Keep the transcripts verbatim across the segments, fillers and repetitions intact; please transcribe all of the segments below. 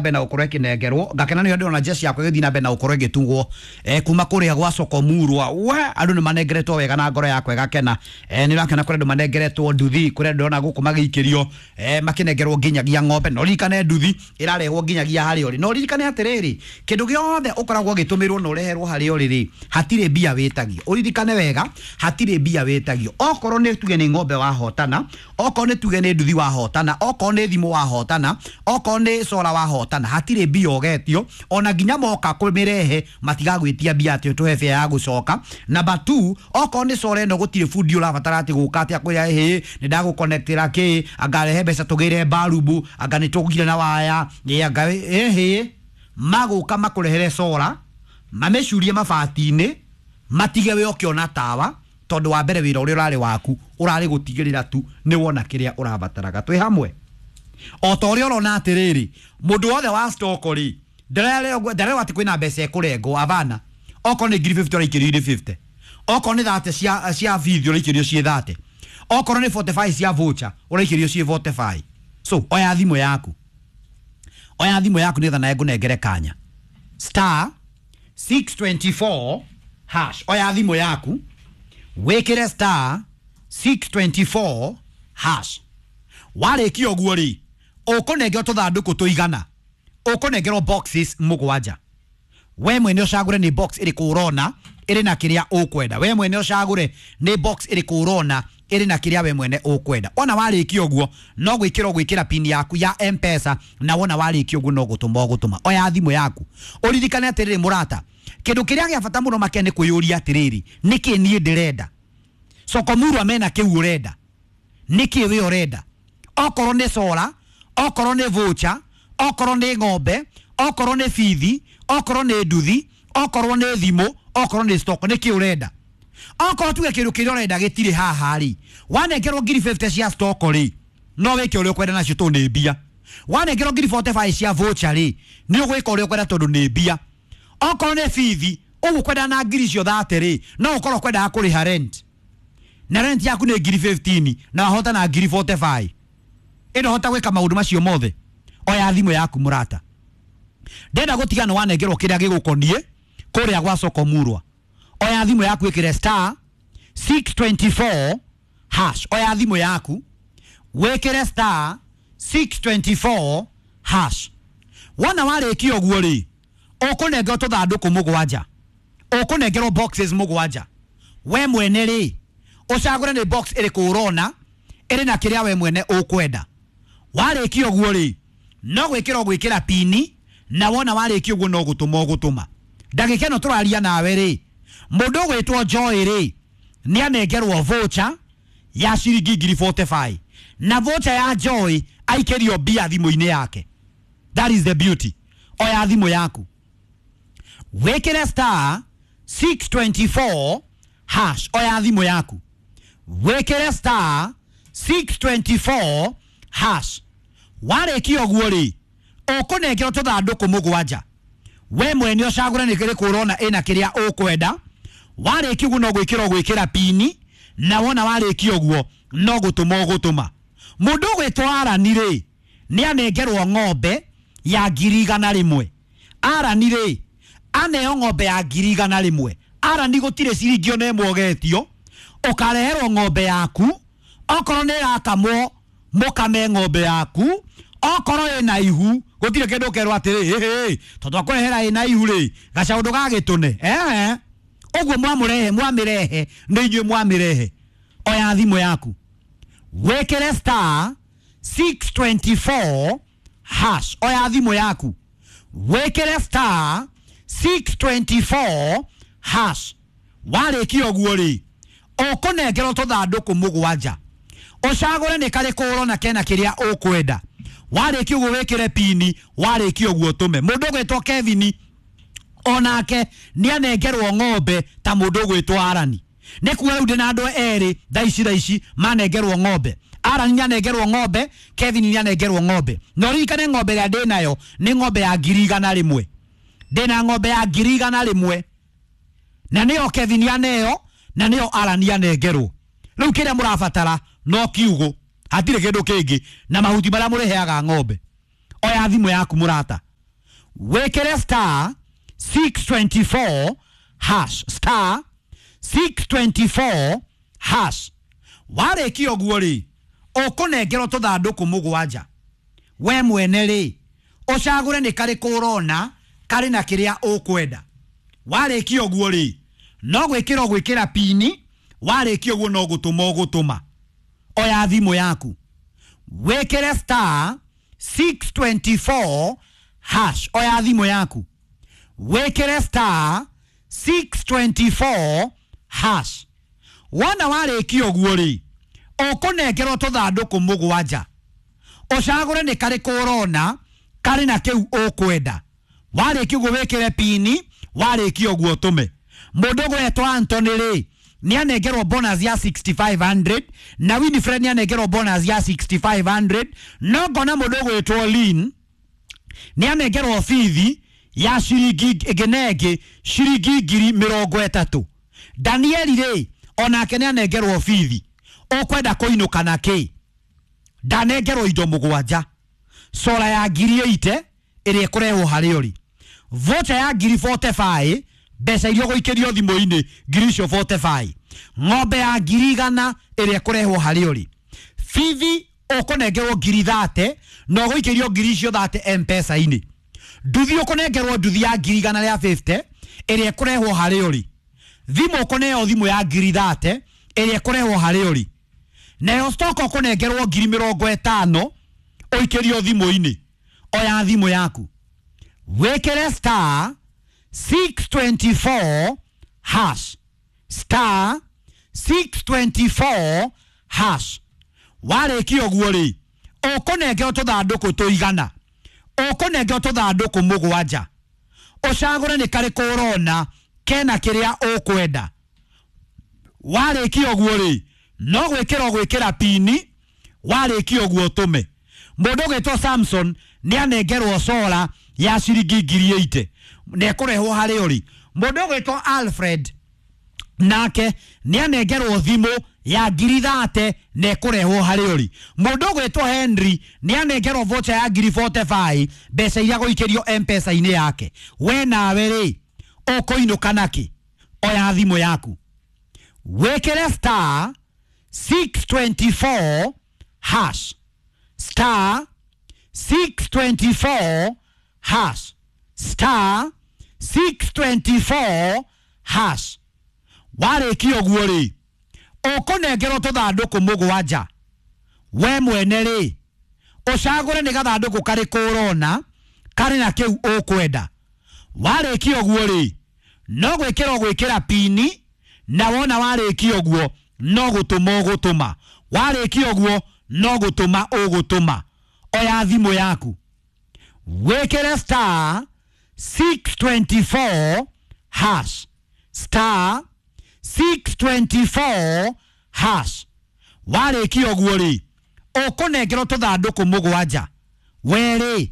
Mbere na gukorwo ikinengerwo ngakena nä ndĩrona jeshi yakwa ĩgĩthiĩ na mbere na gũkorwo ĩgĩtugwo eh, kuma kũrĩa gwa soko murwa we andũ nĩ manengeretwo wega na ngoro yakwa ĩgakena eh, nĩ ũrakena kũrĩa andũ manengeretwo nduthi kũrĩa ndĩrona gũkũ magĩikĩrio eh, makĩnengerwo nginyagia ng'ombe no ririkane nduthi ĩrarehwo nginyagia harĩa ũrĩ no ririkane atĩrĩrĩ kĩndũ gĩothe ũkoragwo ũgĩtũmĩrwo na ũreherwo harĩa ũrĩ rĩ hatirĩ mbia wĩtagio ũririkane wega hatirĩ mbia wĩtagio okorwo nĩ tuge nĩ ng'ombe wahotana okorwo nĩ tuge nĩ nduthi wahotana okorwo nĩ thimũ wahotana okorwo nĩ cora wahotana hatirĩ mbia ũgetio ona nginya moka kũmĩrehe matigagwĩtia mbia atĩ ũtũhe bĩa ya gũcoka. Number two, okorwo nĩ cora ĩno gũtirĩ bundi ũrabatara atĩ gũka atĩ akwĩra hĩ nĩ ndagũconnectĩra kĩ anga rehe mbeca tũgĩre barubu anga nĩ tũgire na waya ĩ anga ĩhĩ magũka makũrehere cora mamĩcurie mabati-inĩ matige we ũkĩona tawa tondũ wa mbere wĩra ũrĩa ũrarĩ waku ũrarĩ gũtigĩrĩra tu nĩ wona kĩrĩa ũrabataraga twĩ hamwe o ta ũrĩa ũrona atĩrĩrĩ mũndũ wothe wa stoko rĩ ndarerwo atĩ kwĩna mbeca ĩkũrengwo abana okorwo nĩ ngiri mĩrongo ĩtano ũraikĩrio irĩ mĩrongo ĩtano okorwo nĩ thate cia cia bithi ũraikĩrio ciĩ thate okorwo nĩ mĩrongo ĩna na ithano cia voucher ũraikĩrio ciĩ mĩrongo ĩna na ithano. So oya thimũ yaku oya thimũ yaku nĩgetha nawe ngũnengere kanya star six two four hash oya thimũ yaku wĩkĩre star six two four hash warĩkia ũguo rĩ ũkũnengerwo tũthandũkũ tũigana ũkũnengerwo boxes mũgwanja we mwene ũcagũre nĩ box ĩrĩkũ ũrona ĩrĩ na kĩrĩa ũkwenda we mwene ũcagũre nĩ box ĩrĩkũ ũrona ĩrĩ na kĩrĩa we mwene ũkwenda wona warĩkia ũguo no gwĩkĩra ũgwĩkĩra pin yaku ya M-Pesa na wona warĩkia ũguo no gũtũma ũgũtũma oya thimũ yaku ũririkane atĩrĩrĩ mũrata kĩndũ kĩrĩa gĩa bata mũno makĩria nĩ kwĩyũria atĩrĩrĩ nĩkĩ niĩ ndĩrenda soko murwa mena kĩu ũrenda nĩkĩ we ũrenda okorwo nĩ cora okorwo nĩ voucher okorwo nĩ ng'ombe okorwo nĩ bithi okorwo nĩ nduthi okorwo nĩ thimũ okorwo nĩ stock nĩkĩ ũrenda okorwo tuge kĩndũ kĩrĩa ũrenda gĩtirĩ haha rĩ wanengerwo ngiri mĩrongo ĩtano cia stock rĩ no wĩke ũrĩa ũkwenda nacio tondũ nĩ mbia wanengerwo ngiri mĩrongo ĩna na ithano cia voucher rĩ nĩ ũgwĩka ũrĩa ũkwenda tondũ nĩ mbia okorwo nĩ bithi ũgũkwenda na ngiri icio thate rĩ no ũkorwo ũkwendaga kũrĩha rent na rent yaku nĩ ngiri ikũmi na ithano na wahota na ngiri mĩrongo ĩna na ithano ĩno hota gwĩka maũndũ macio mothe oya thimũ yaku mũrata ndenda gũtiga nĩ wanengerwo kĩrĩa gĩgũkoniĩ kũrĩa gwa soko murwa oya thimũ yaku ĩkĩre star six two four hash oya thimũ yaku wĩkĩre star six two four hash wona warĩkia ũguo rĩ ũkũnengerwo tũthandũkũ mũgwanja ũkũnengerwo boxes mũgwanja we mwene rĩ ũcagũre nĩ box ĩrĩkũ ũrona ĩrĩ na kĩrĩa we mwene ũkwenda warĩkia ũguo rĩ no gwĩkĩra ũgwĩkĩra pini na wona warĩkia ũguo no gũtũma ũgũtũma ndagĩka ĩno tũraria nawe rĩ mũndũ ũgwĩtwo Joy rĩ nĩ anengerwo voucher ya ciringi ngiri mĩrongo ĩna na ithano na voucher ya Joy aikĩrio mbia thimũ-inĩ yake. That is the beauty. Oya thimũ yaku wĩkĩre star six two four hash oya thimũ yaku wĩkĩre star six two four hash warĩkia ũguo rĩ ũkũnengerwo tũthandũkũ mũgwanja we mwene ũcagũre nĩ kĩrĩkũ ũrona ĩna kĩrĩa ũkwenda warĩkia ũguo no gwĩkĩra ũgwĩkĩra pini na wona warĩkia ũguo no gũtũma ũgũtũma mũndũ ũgwĩtwo Arani rĩ nĩ anengerwo ng'ombe ya ngiri igana rĩmwe Arani rĩ aneo ng'ombe ya ngiri igana rĩmwe Arani gũtirĩ ciringi ona ĩmwe ũgetio ũkareherwo ng'ombe yaku okorwo nĩ ĩrakamwo mũkame ng'ombe yaku okorwo ĩna ihu gũtirĩ kĩndũ ũkerwo atĩrĩ hĩ tondũ akũrehera ĩna ihu rĩ gacaũ ndũgagĩtũne ehe ũguo mwamũrehe mwamĩrehe nĩ inyuĩ mwamĩrehe oya thimũ yaku wĩkĩre star six two four hash oya thimũ yaku wĩkĩre star six two four hash warĩkia ũguo rĩ ũkũnengerwo tũthandũkũ mũgwanja ũcagũre nĩ karĩkũ ũrona kena kĩrĩa ũkwenda warĩkia ũguo wĩkĩre pini warĩkia ũguo ũtũme mũndũ ũgwĩtwo Kevin onake nĩ anengerwo ng'ombe ta mũndũ ũgwĩtwo Arani nĩ kuga rĩu ndĩna andũ erĩ thaa ici thaa ici manengerwo ng'ombe Arani nĩ anengerwo ng'ombe Kevin nĩ anengerwo ng'ombe na ũririkane ng'ombe ĩrĩa ndĩnayo nĩ ng'ombe ya ngiri igana rĩmwe ndĩna ng'ombe ya ngiri igana rĩmwe na nĩyo Kevin aneo na nĩyo Arani anengerwo rĩu kĩrĩa mũrabatara no kiugũ hatirĩ kĩndũ kĩngĩ na mahuti marĩa mũrĩheaga ng'ombe oya thimũ yaku mũrata. Wĩkĩre star six twenty-four hash, star six twenty-four hash. Warĩkia ũguo rĩ, ũkũnengerwo tũthandũkũ mũgwanja. We mwene rĩ, ũcagũre nĩ karĩkũ ũrona karĩ na kĩrĩa ũkwenda. Warĩkia ũguo rĩ, no gwĩkĩra ũgwĩkĩra pini. Warĩkia ũguo no gũtũma ũgũtũma. Oya thimũ yaku, wĩkĩre star six twenty-four hash. Oya thimũ yaku, wĩkĩre star six twenty-four hash. Wona warĩkia ũguo rĩ, ũkũnengerwo tũthandũkũ mũgwanja. Ũcagũre nĩ karĩkũ ũrona karĩ na kĩu ũkwenda. Warĩkia ũguo wĩkĩre pini, warĩkia ũguo ũtũme. Mũndũ ũgwetwo Anthony rĩ, nĩanengerwo bonus ya sixty-five hundred, na Winifred nĩanengerwo bonus ya sixty-five hundred. No ngona mũndũ ũgwĩtwo Lynn nĩanengerwo bithi ya ciringi ĩngĩ na ĩngĩ ciringi ngiri mĩrongo ĩtatũ. Danieli rĩ, onake nĩanengerwo bithi. Ũkwenda kũinũka na kĩ? Ndanengerwo indo mũgwanja. Sola ya ngiri eight ĩrĩa ĩkũrehwo harĩ ũrĩ, voucher ya ngiri forty-five, mbeca iria ũgũikĩrio thimũ-inĩ ngiri icio forty-five, ng'ombe ya ngiri igana ĩrĩa ĩkũrehwo harĩ ũrĩ, bithi ũkũnengerwo ngiri thirty na ũgũikĩrio ngiri icio thirty M-Pesa-inĩ, nduthi ũkũnengerwo nduthi ya ngiri igana rĩa fifty ĩrĩa ĩkũrehwo harĩ ũrĩ, thimũ ũkũneo thimũ ya ngiri thirty ĩrĩa ĩkũrehwo harĩ ũrĩ, nayo stock ũkũnengerwo ngiri mĩrongo ĩtano ũikĩrio thimũ-inĩ. Oya thimũ yaku, wĩkĩre star six twenty-four hash, star six twenty-four hash. Warĩkia ũguo rĩ, ũkũnengerwo tũthandũkũ tũigana, ũkũnengerwo tũthandũkũ mũgwanja. Ũcagũre nĩ karĩkũ ũrona kena kĩrĩa ũkwenda. Warĩkia ũguo rĩ, no gwĩkĩra ũgwĩkĩra pini. Warĩkia ũguo ũtũme. Mũndũ ũgwĩtwo Samson nĩanengerwo sola ya ciringi ngiri eight na ĩkũrehwo harĩ ũrĩ. Mũndũ ũgwĩtwo Alfred nake nĩanengerwo thimũ ya ngiri thirty na ĩkũrehwo harĩ ũrĩ. Mũndũ ũgwĩtwo Henry nĩanengerwo voucher ya ngiri forty-five, mbeca iria gũikĩrio M-Pesa-inĩ yake. We nawe rĩ, ũkũinũka nakĩ? Oya thimũ yaku, wĩkĩre star six twenty-four hash, star six twenty-four hash, star six twenty-four hash. Warĩkia ũguo rĩ, ũkũnengerwo tũthandũkũ mũgwanja. We mwene rĩ, ũcagũre nĩ gathandũkũ karĩkũ ũrona karĩ na kĩu ũkwenda. Warĩkia ũguo rĩ, no gwĩkĩra ũgwĩkĩra pini, na wona warĩkia ũguo no gũtũma ũgũtũma. Warĩkia ũguo no gũtũma ũgũtũma. Oya thimũ yaku, wĩkĩre star six twenty-four hash, star six twenty-four hash. Warĩkia ũguo rĩ, ũkũnengerwo tũthandũkũ mũgwanja. We rĩ,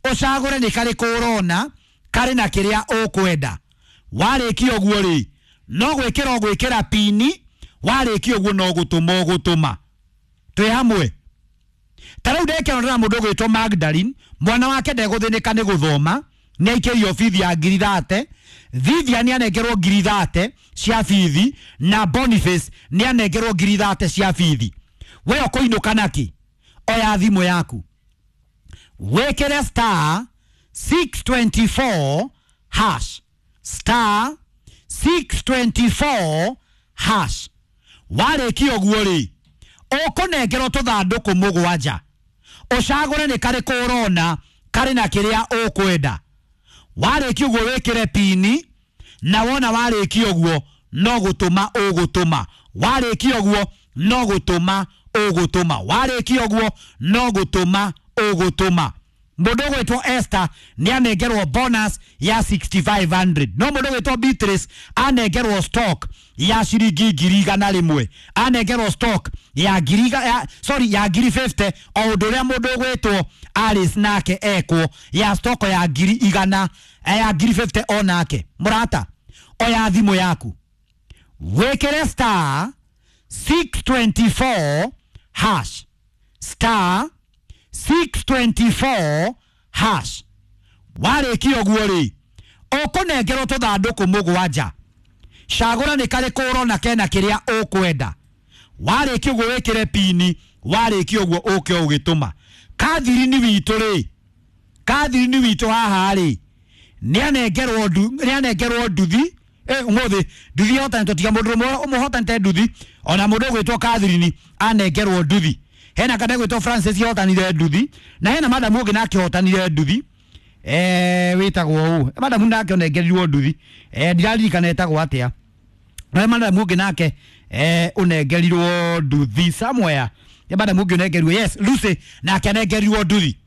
ũcagũre nĩ karĩkũ ũrona karĩ na kĩrĩa ũkwenda. Warĩkia ũguo rĩ, no gwĩkĩra ũgwĩkĩra pini. Warĩkia ũguo no gũtũma ũgũtũma. Twĩ hamwe. Ta rĩu ndekĩrorera mũndũ ũgwĩtwo Magdalene, mwana wake ndegũthĩnĩka nĩ gũthoma, nĩaikĩrio bithi ya ngiri thirty. Vivian nĩanengerwo ngiri thirty cia bithi, na Boniface nĩanengerwo ngiri thirty cia bithi. We ũkũinũka nakĩ? Oya thimũ yaku, wĩkĩre star six twenty-four hash, star six twenty-four hash. Warĩkia ũguo rĩ, ũkũnengerwo tũthandũkũ mũgwanja. Ũcagũre nĩ karĩkũ ũrona karĩ na kĩrĩa ũkwenda. Warĩkia ũguo wĩkĩre pini, na wona warĩkia ũguo no gũtũma ũgũtũma. Warĩkia ũguo no gũtũma ũgũtũma. Warĩkia ũguo no gũtũma ũgũtũma. Mũndũ ũgwĩtwo Esther nĩanengerwo bonus ya sixty-five hundred. No mũndũ ũgwĩtwo Beatrice anengerwo stock ya ciringi ngiri igana rĩmwe. Anengerwo stock ya ngiri ya, sorry, ya ngiri fifty, o ũndũ ũrĩa mũndũ ũgwĩtwo Alice nake ekwo ya stock ya ngiri igana ya ngiri fifty o nake. Mũrata, oya thimũ yaku, wĩkĩre star six twenty-four hash, star six twenty-four hash. Warĩkia ũguo rĩ, ũkũnengerwo tũthandũkũ mũgwanja. Cagũra nĩ karĩkũ ũrona kena kĩrĩa ũkwenda. Warĩkia ũguo wĩkĩre pini, warĩkia ũguo ũke ũgĩtũma. Kathirini witũ rĩ, Kathirini witũ haha rĩ, nĩanengerwo ndu, nĩanengerwo nduthi. Eh, ũmũthĩ nduthi ĩhotanĩtwo tiga mũndũ ũmwe ũmũhotanĩte nduthi, ona mũndũ ũgwĩtwo Kathirini anengerwo nduthi. Hena kana gwĩtwo Francis hotanire nduthi, na hena madamu ũngĩ nake hotanire nduthi. Eh, wĩtagwo ũ? Madamu nake onengerirwo nduthi. Eh, ndiraririkana etagwo atĩa. Na madamu ũngĩ nake eh ũnengerirwo nduthi somewhere. Ya madamu ũngĩ ũnengerirwo, yes, Lucy nake anengerirwo nduthi.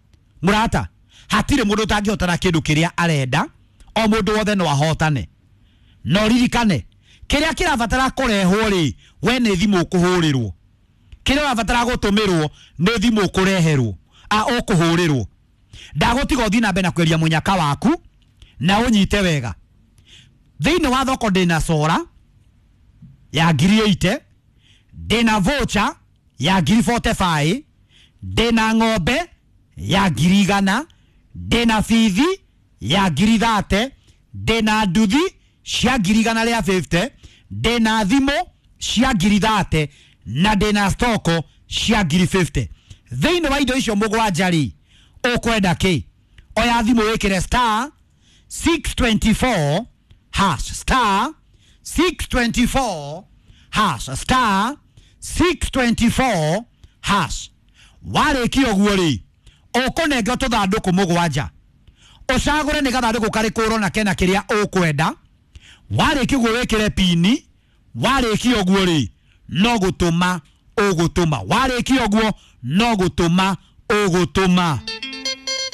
Mũrata, hatirĩ mũndũ ũtangĩhotana kĩndũ kĩrĩa arenda, o mũndũ wothe no ahotane. No ririkane, kĩrĩa kĩrabatara kũrehwo rĩ, we nĩ thimũ ũkũhũrĩrwo. Kĩrĩa ũrabatara gũtũmĩrwo nĩ thimũ ũkũreherwo, a ũkũhũrĩrwo. Ndagũtiga ũthiĩ na mbere na kweria mũnyaka waku na ũnyite wega. Thĩinĩ wa thoko ndĩna sora ya ngiri eighty, ndĩna voucher ya ngiri forty-five, ndĩna ng'ombe ya ngiri igana, ndĩna bithi ya ngiri thirty, ndĩna nduthi cia ngiri igana rĩa fifty, ndĩna thimũ cia ngiri thirty na ndĩna stoko cia ngiri fifty. Thĩinĩ wa indo icio mũgwanja rĩ, ũkwenda kĩ? Oya thimũ wĩkĩre star six twenty-four hash, star six twenty-four hash, star six twenty-four hash. Warĩkia ũguo rĩ, ũkũnengwo tũthandũkũ mũgwanja. Ũcagũre nĩ gathandũkũ karĩkũ ũrona kena kĩrĩa ũkwenda. Warĩkia ũguo wĩkĩre pini, warĩkia ũguo rĩ, no gũtũma ũgũtũma. Warĩkia ũguo no gũtũma ũgũtũma.